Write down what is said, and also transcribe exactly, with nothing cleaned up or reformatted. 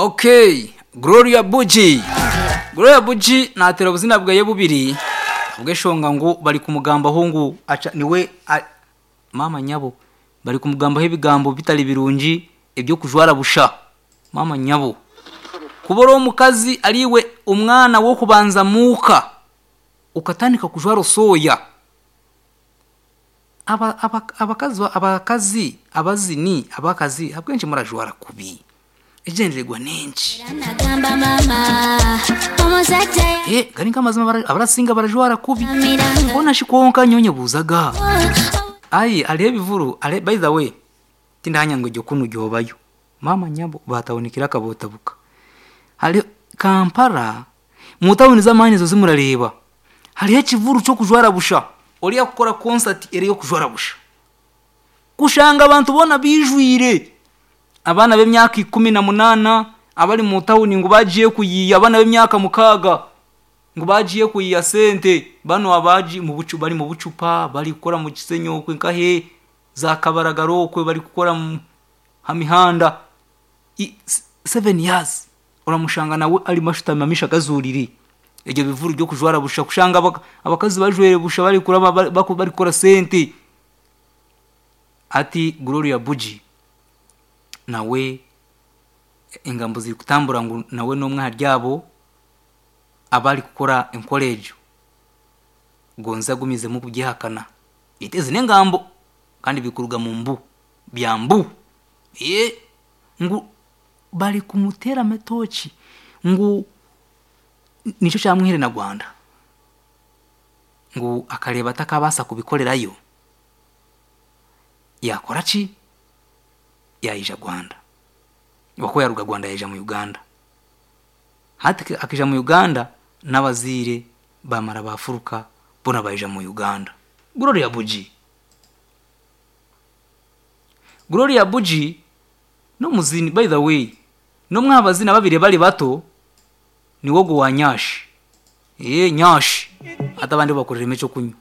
Okay, Gloria Buji. Gloria Buji natera obuzina bwaye bubiri ubweshonga ngu bari kumugambaho ngu aca niwe a, mama nyabo bari kumugambaho ebigambo bitari birungi ebyo kujwara busha mama nyabo kubora omukazi ariwe umwana wo kubanza muka ukatandika kujwara soya aba aba abakazi abakazi abazini abakazi abwenshi murajwara kubi egendererwa nenshi Nagamba mama omuzadde eh gari nk'amazima bara- abarasinga barajwara kubi yamiranga bona shikonka nyonye buzaga ayi aliho ebivuru ale by the way tindahanya ngo kunu gyobayo mama nyabo batawunikira akabotabuka hali Kampala mu tawuni z'amaani zo zimurareba hariho ekivuru cyo kujwara busha oriya kukora concert eri yo kujwara busha kushanga abantu bona bijwire abana b'emyaka ikumi na munana abari mu tawuni ngo bagiye kuyiya abana b'emyaka mukaga ngo bagiye kuyiya sente bano abaji mu bucu bari mu bucupa bari gukora mu kisenyo kwe nkahe za kabaragaro kwe bari gukora mu hamihanda I- s- seven years uramushanga nawe ari mashutami amisha akazuriri ibyo bivuru byo kujwara busha kushanga abak- abakazi bajwere busha bari kuraba bari bari gukora sente ati Gloria Buji nawe engambo ziri kutambura ngu nawe n'omwe haryabo abari kukora enkorejo gonza agumizemu kubyihakana itezi n'engambo kandi bikuruga mu mbu bya mbu ye ngu bari kumutera amatoki ngu nicyo cyamwihere na Rwanda ngu akareba atakabasa kubikorerayo yakora ki yayija Rwanda wako yaruga Rwanda yaija mu Uganda hati akija mu Uganda n'abazire bamara bafuruka bona bayija mu Uganda Gloria Buji Gloria Buji no muzini by the way no mwabazina babiri bari bato ni wogo wa nyashi eh nyashi atabandi bakorera imico kunywa